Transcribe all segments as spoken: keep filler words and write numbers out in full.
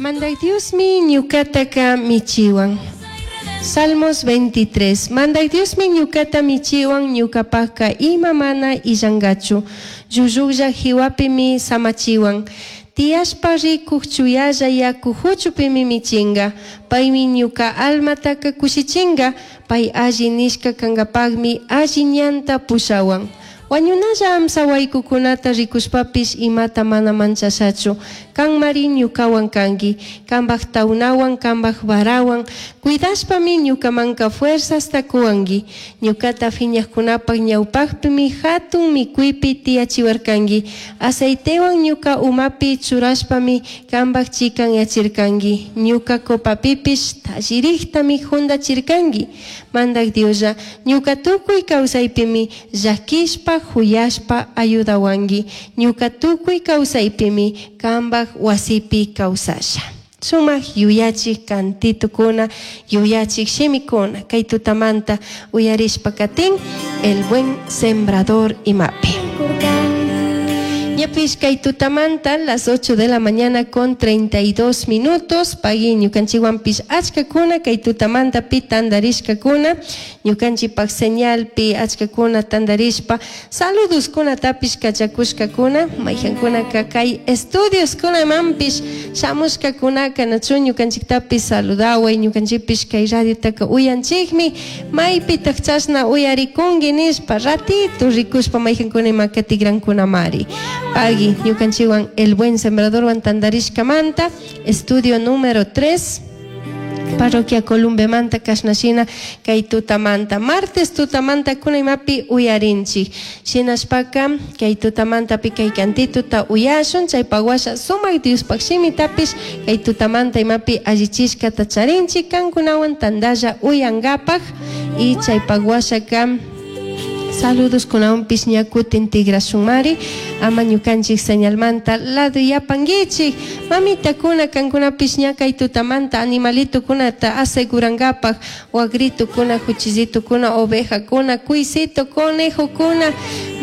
Mandaj Diosmi ñucataca michihuan. Salmos veintitrés. Mandaj Diosmi ñucata michihuan, ñucapajca ima mana illangachu. Llullujlla jihuapimi samachihuan. Tiyashpa ricuj chuyalla yacu juchupimi michinga. Paimi ñuca almataca cushichinga. Pai alli nishca cangapajmi alli ñanta pushahuan. Huañunalla amsa huaicucunata ricushpapish imata mana manchashachu. Canmari ñucahuan cangui. Cambaj taunahuan, cambaj varahuan. Cuidashpami ñucamanca fuerzasta cuhuangui. Ñucata fiñajcunapaj ñaupajpimi jatun micuipi tiyachihuarcangui. Aceitehuan ñuca umapi churashpami cambaj chicanyachircangui. Ñuca copapipish tallirijtami jundachircangui. Mandaj Dioslla, ñuca tucui causaipimi llaquishpa, juyashpa ayudahuangui. Ñuca tucui causaipimi cambaj huasipi causasha. Sumaj yuyachij cantitukuna, yuyachij shimikuna, kay tutamanta uyarishpa katin, el buen sembrador imapi. Ñapish kay tutamanta las ocho de la mañana con treinta y dos minutos, pagui ñukanchiwanpish achkakuna kay tutamanta pi tandarishkakuna, ñukanchipaj señalpi achkakuna tandarishpa saludos-kunatapish kachakushkakuna, mayjankunaka kay estudios-kunamanpish shamushkakunaka nachu ñukanchiktapis saludaway, ñukanchikpish kay radiotaka uyanchikmi, maypitaq chashna uyarikunki nishpa ratito rikushpa mayjankuna imaka tigrankunamari. Pagui, ñukanchiwan el buen sembradorwan tandarishkamanta, estudio número tres, parroquia Columbemanta kashnashina kay tutamanta, martes tutamanta kuna imapi uyarinchik. Shinashpaka kay tutamantapi kay cantituta uyashun, chaypa washa sumak Diospaj shimitapish kay tutamanta imapi allichishkata charinchik, kankunawan tandalla uyankapaj y chaypa washaka saludos kunawanpish ña kutin tigrashunmari, ama ñukanchik señalmanta lado yapankichik. Mamitakuna kankunapish ña kay tutamanta animalitukunata asegurankapaj, wagritukuna, juchillitukuna, ovejakuna, cuisito, conejokuna,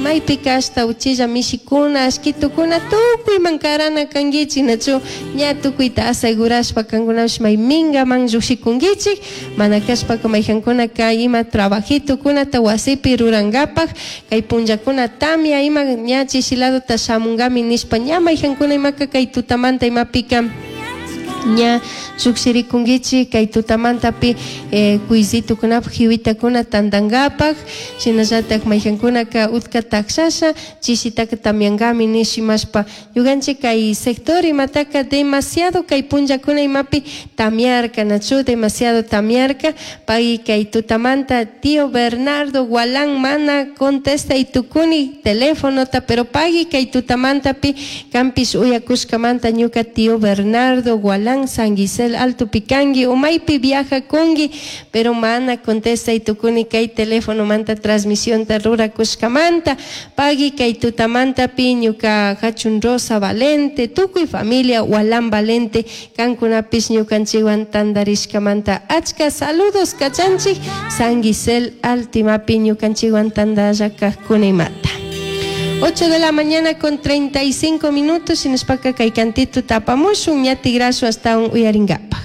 maypi kashta uchilla mishikuna, ashkitukuna, tukuyman karana kankichik, nachu ña tukuyta asegurashpa kankunapish may mingaman llukshikunkichik, mana kashpaka mayjankunaka ima trabajitukunata wasipi rurankapaj, kay punllakuna tamia ima ña chishiladota shamunkami nishpa ña mayjankuna imaka kay tutamanta imapika ña llukshirikunkichik kay tutamantapi, eh, cuisitukunapaj jiwitakuna tantankapaj, shinallatak mayjankunaka utka takshasha chishitaka tamiankami nishimashpa ñukanchik kay sector imataka demasiado kay punllakuna imapi tamiarka, nachu demasiado tamiarka, pay kay tutamanta tío Bernardo Gualán mana contesta y tukuni teléfonota, pero pagui kay tutamantapi kampish uyakushkamanta ñuka tío Bernardo Gualán San Gisel Alto Picangi o maypi viaja kungi, pero mana contesta y tukuni kay teléfono manta transmisión ta rurakushkamanta, pagui kay tutamantapi ñuka hachun Rosa Valente, tukuy familia Gualán Valente, kankunapish ñukanchikwan tandarishkamanta achka saludos kachanchik San Gisel Altimapi ñukanchikwan tandalla kajkunimata. ocho de la mañana con treinta y cinco minutos, shinashpaka kay cantito tapamushun, ña tigrasu hasta un uyaringapaj.